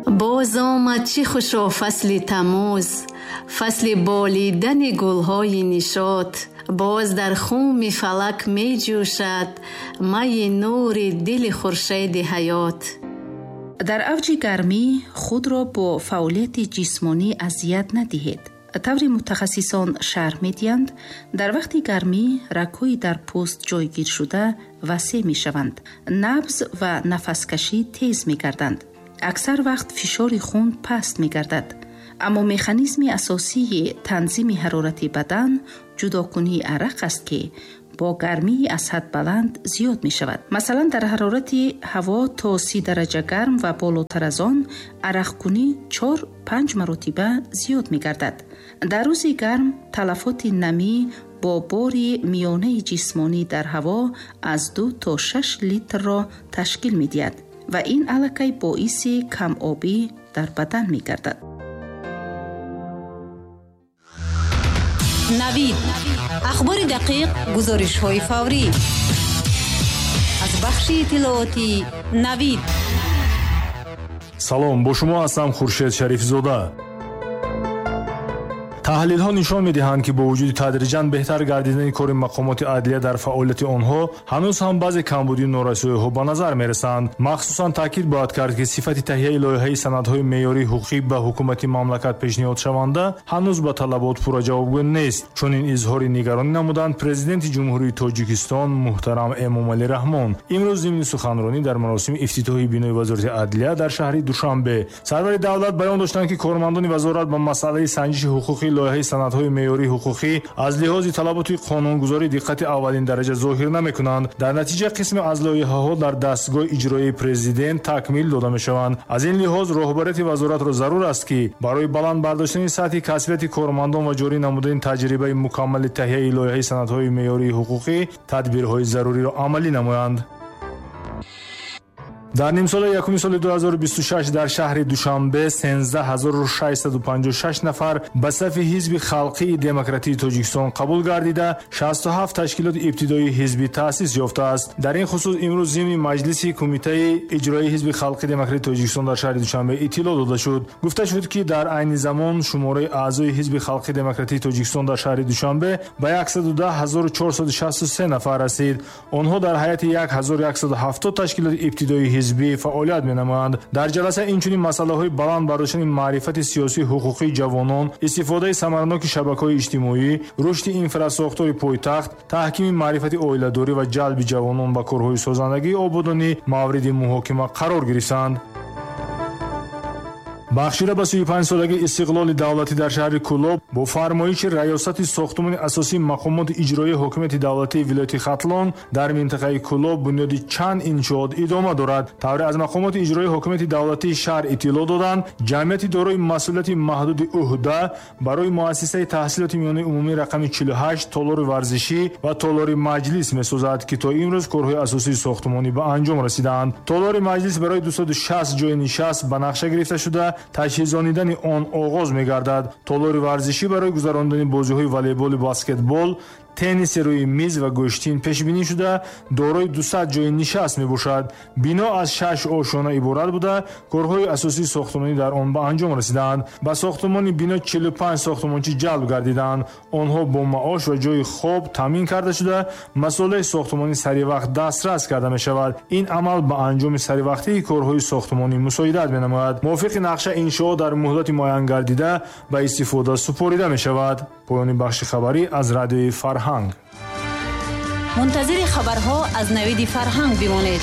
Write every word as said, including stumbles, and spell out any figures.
Боз омад чӣ хушо фасли таммуз, фасли болидани гулҳои нишот. Боз дар хуми фалак меҷӯшад майи нури дили хуршеди ҳаёт. Дар авҷи гармӣ худро бо фаъолияти ҷисмонӣ азият надиҳед. Таври мутахассисон шарҳ медиҳанд, дар вақти гармӣ рагҳои дар пӯст ҷойгиршуда васеъ мешаванд, набз ва нафаскашӣ тез мегарданд. Аксар вақт фишори хун паст мегардад. Аммо механизми асосии танзими ҳарорати бадан ҷудокунии арақ аст, ки бо гармии аз ҳад баланд зиёд мешавад. Масалан, дар ҳарорати ҳаво то си дараҷа гарм ва болотар аз он арақкунӣ чор панҷ маротиба зиёд мегардад. Дар рӯзи гарм талафоти намӣ бо бори миёнаи ҷисмонӣ дар ҳаво аз ду то шаш литрро ташкил медиҳад ва ин аллакай боиси камобӣ дар бадан мегардад. Навид. Ахбори дақиқ, гузоришҳои фаврӣ. Аз бахши иттилоотии Навид. Салом, бо шумо ҳастам Хуршед Шарифзода. Таҳлилҳо нишон медиҳанд, ки бо вуҷуди тадриҷан беҳтар гардидани кори мақомоти адлия дар фаъолияти онҳо, ҳанӯз ҳам баъзе камбудию норасоиҳо ба назар мерасанд. Махсусан таъкид бояд кард, ки сифати таҳияи лоиҳаи санадҳои меъёрии ҳуқуқӣ ба ҳукумати мамлакат пешниҳодшаванда ҳанӯз ба талабот пурра ҷавобгӯ нест. Чунин изҳори нигаронӣ намуданд президенти Ҷумҳурии Тоҷикистон муҳтарам Эмомалӣ Раҳмон. Имрӯз зимни суханронӣ дар маросими ифтитоҳи бинои Вазорати адлия дар шаҳри Душанбе сарвари давлат баён доштанд, ки кормандони вазорат ба масъалаи санҷиши ҳуқуқи лоиҳаи санадҳои меъёрии ҳуқуқӣ аз лиҳози талаботи қонунгузорӣ диққати аввалин дараҷа зоҳир намекунанд. Дар натиҷа қисме аз лоиҳаҳо дар дастгоҳи иҷроии президент такмил дода мешаванд. Аз ин лиҳоз роҳбарияти вазоратро зарур аст, ки барои баланд бардоштани сатҳи касбияти кормандон ва ҷорӣ намудани таҷрибаи мукаммали таҳияи лоиҳаи санадҳои меъёрии ҳуқуқӣ тадбирҳои заруриро амалӣ намоянд. Дар нимсолаи якуми соли ду ҳазору бисту шаш дар шаҳри Душанбе сенздаҳ ҳазору шашсаду панҷоҳу шаш нафар ба сафи Ҳизби Халқии Демократии Тоҷикистон қабул гардида, шасту ҳафт ташкилоти ибтидоии ҳизбӣ таъсис ёфтааст. Дар ин хусус имрӯз зимни маҷлиси Кумитаи иҷроии Ҳизби Халқии Демократии Тоҷикистон дар шаҳри Душанбе иттилоъ дода шуд. Гуфта шуд, ки дар айни замон шумораи аъзои Ҳизби Халқии Демократии Тоҷикистон дар шаҳри Душанбе ба яксаду даҳ ҳазору чорсаду шасту се нафар расид. Онҳо дар ҳайати як ҳазору яксаду ҳафтод ташкилоти ибтидоии ҳизбӣ фаъолият менамоянд. Дар ҷаласа инчунин масъалаҳои баланд бардоштани маърифати сиёсию ҳуқуқии ҷавонон, истифодаи самараноки шабакаҳои иҷтимоӣ, рушди инфрасохтори пойтахт, таҳкими маърифати оиладорӣ ва ҷалби ҷавонон ба корҳои созандагии ободонӣ мавриди муҳокима қарор гирифтанд. Бахшида ба сию панҷ солагии истиқлоли давлатӣ дар шаҳри Кӯлоб бо фармоиши раёсати сохтумони асосии мақомоти иҷроии ҳокимияти давлатии вилояти Хатлон дар минтақаи Кӯлоб бунёди чанд иншоот идома дорад. Тавре аз мақомоти иҷроии ҳокимияти давлатии шаҳр иттилоъ доданд, ҷамъияти дорои масъулияти маҳдуди Уҳда барои муассисаи таҳсилоти миёнаи умумӣ рақами чилу ҳашт толори варзишӣ ва толори маҷлис месозад, ки то имрӯз корҳои асосии сохтумонӣ ба анҷом расидаанд. Толори маҷлис барои дусаду шаст ҷои нишаст ба нақша гирифта шуда, таҷҳизонидани он оғоз мегардад. Толори варзишӣ барои гузарондани бозиҳои волейболу баскетбол, тенниси рӯи миз ва гӯштин пешбинӣ шуда, дорои дусад ҷои нишаст мебошад. Бино аз шаш ошёна иборат буда, корҳои асосии сохтмонӣ дар он ба анҷом расидаанд. Ба сохтмони бино чилу панҷ сохтмончӣ ҷалб гардидаанд. Онҳо бо маош ва ҷои хоб таъмин карда шуда, масолеҳи сохтмонӣ саривақт дастрас карда мешавад. Ин амал ба анҷоми саривақтии корҳои сохтмонӣ мусоидат менамояд. Мувофиқи нақша иншоот дар муҳлати муайян гардида ба истифода супорида мешавад. Поёни бахши хабарӣ аз радиои Фарҳанг. Мунтазири хабарҳо аз Навиди Фарҳанг бимонед.